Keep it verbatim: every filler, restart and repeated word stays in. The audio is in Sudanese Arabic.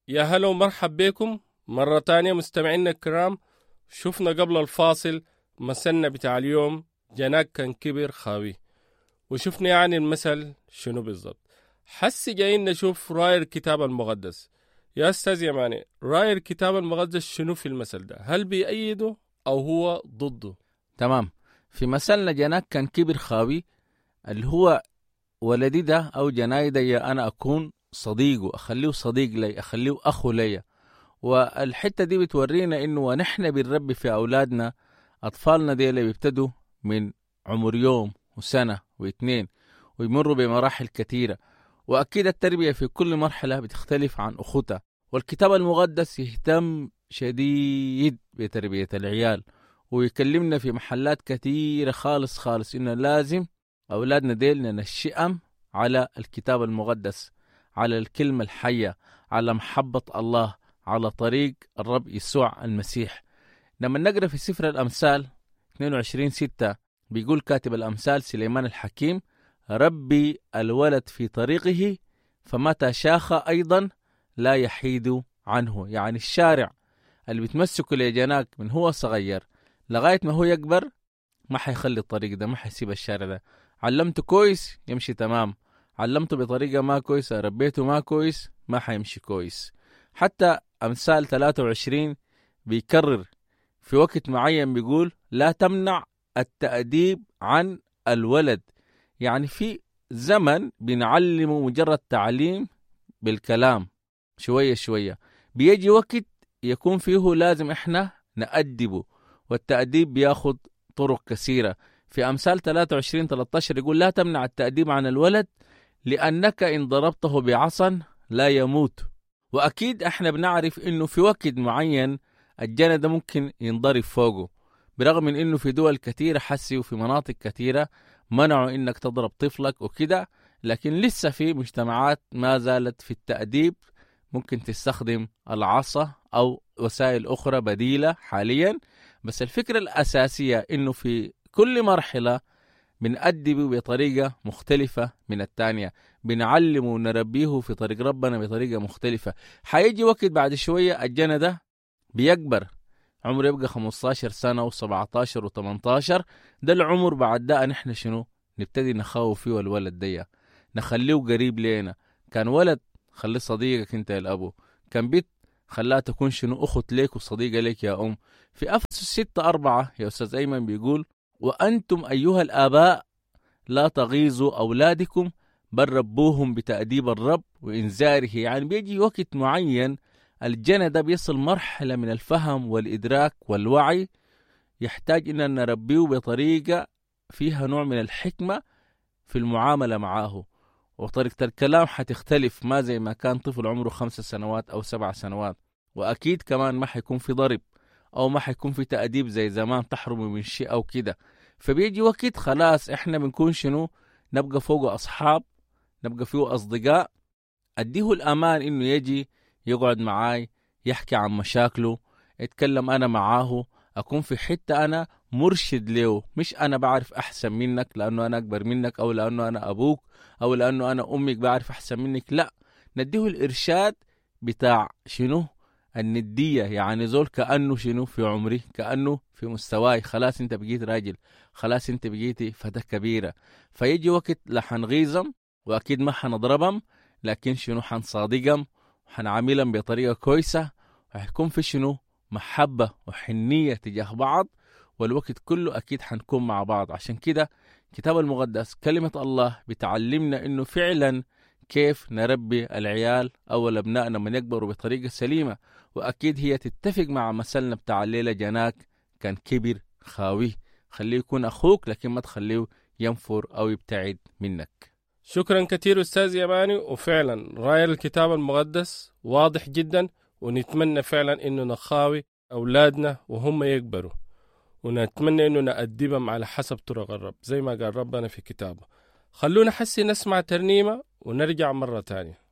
يا هلا ومرحب بكم مرة تانية مستمعينا الكرام. شفنا قبل الفاصل مثلنا بتاع اليوم جناك كان كبر خاوي، وشفنا يعني المثل شنو بالضبط. حسي جايين نشوف راي الكتاب المقدس. يا استاذ يماني، راي الكتاب المقدس شنو في المثل ده؟ هل بيأيده او هو ضده؟ تمام. في مثلنا جناك كان كبر خاوي، اللي هو ولدي ده او جناي ده، يا انا اكون صديقه، اخليه صديق لي، اخليه اخو لي. والحتة دي بتورينا انه ونحن بنربي في اولادنا، اطفالنا دي اللي بيبتدوا من عمر يوم وسنة واثنين ويمروا بمراحل كثيرة، واكيد التربية في كل مرحلة بتختلف عن اخوتها. والكتاب المقدس يهتم شديد بتربية العيال، ويكلمنا في محلات كثيرة خالص خالص إنه لازم أولادنا ديل ننشئهم على الكتاب المقدس، على الكلمة الحية، على محبة الله، على طريق الرب يسوع المسيح. لما نقرأ في سفر الأمثال اثنين وعشرين ستة بيقول كاتب الأمثال سليمان الحكيم: ربي الولد في طريقه فمتى شاخ أيضا لا يحيد عنه. يعني الشارع اللي بتمسكه لجناك من هو صغير لغاية ما هو يكبر ما حيخلي الطريق ده، ما حيسيب الشارع ده. علمته كويس يمشي تمام، علمته بطريقة ما كويسة، ربيته ما كويس، ما حيمشي كويس. حتى أمثال ثلاثة وعشرين بيكرر في وقت معين بيقول لا تمنع التأديب عن الولد. يعني في زمن بنعلمه مجرد تعليم بالكلام شوية شوية، بيجي وقت يكون فيه لازم احنا نأدبه، والتأديب بياخد طرق كثيرة. في أمثال ثلاثة وعشرين ثلاثة عشر يقول لا تمنع التأديب عن الولد لأنك إن ضربته بعصا لا يموت. وأكيد احنا بنعرف إنه في وقت معين الجنى ده ممكن ينضرب فوقه، برغم من إنه في دول كثيرة حسي وفي مناطق كثيرة منعوا إنك تضرب طفلك وكده، لكن لسه في مجتمعات ما زالت في التأديب ممكن تستخدم العصا أو وسائل أخرى بديلة حاليا. بس الفكرة الأساسية إنه في كل مرحلة بنأدبه بطريقة مختلفة من الثانية، بنعلمه ونربيه في طريق ربنا بطريقة مختلفة. حيجي وقت بعد شوية الجنى ده بيكبر، عمره يبقى خمستاشر سنة وسبعتاشر وتمنتاشر، ده العمر بعد ده نحن شنو نبتدي نخاوف فيه الولد دي، نخليه قريب لينا. كان ولد خليه صديقك انت يا الأبو، كان بيت خلاها تكون شنو أخت ليك وصديقة ليك يا أم. في أفسس ستة أربعة يا أستاذ أيمن بيقول وأنتم أيها الآباء لا تغيظوا أولادكم بل ربوهم بتأديب الرب وإنذاره. يعني بيجي وقت معين الجنى ده بيصل مرحلة من الفهم والإدراك والوعي، يحتاج إن نربيه بطريقة فيها نوع من الحكمة في المعاملة معاه، وطريقة الكلام حتختلف، ما زي ما كان طفل عمره خمس سنوات أو سبع سنوات. وأكيد كمان ما حيكون في ضرب أو ما حيكون في تأديب زي زمان تحرمه من شيء أو كده. فبيجي وقت خلاص إحنا بنكون شنو نبقى فوقه أصحاب، نبقى فيه أصدقاء، أديه الأمان إنه يجي يقعد معاي يحكي عن مشاكله، اتكلم أنا معاه، أكون في حتة أنا مرشد له، مش أنا بعرف أحسن منك لأنه أنا أكبر منك أو لأنه أنا أبوك أو لأنه أنا أمك بعرف أحسن منك. لا، نديه الإرشاد بتاع شنو الندية، يعني زول كأنه شنو في عمري، كأنه في مستواي، خلاص أنت بقيت راجل، خلاص أنت بقيتي فتاة كبيرة. فيجي وقت لا حنغيظم وأكيد ما حنضربهم، لكن شنو حنصادقهم وحنعاملهم بطريقة كويسة، وحيكون في شنو محبة وحنية تجاه بعض، والوقت كله أكيد حنكون مع بعض. عشان كده كتاب المقدس كلمة الله بتعلمنا إنه فعلا كيف نربي العيال أو الأبناء لما يكبروا بطريقة سليمة. وأكيد هي تتفق مع مثلنا بتاع الليلة جناك كان كبر خاوي، خليه يكون أخوك لكن ما تخليه ينفر أو يبتعد منك. شكرا كثير أستاذ يماني، وفعلا رأي الكتاب المقدس واضح جدا، ونتمنى فعلا إنه نخاوي أولادنا وهم يكبروا، ونتمنى إنه نأدبهم على حسب طرق الرب زي ما قال ربنا في كتابه. خلونا حسي نسمع ترنيمة ونرجع مرة تانية.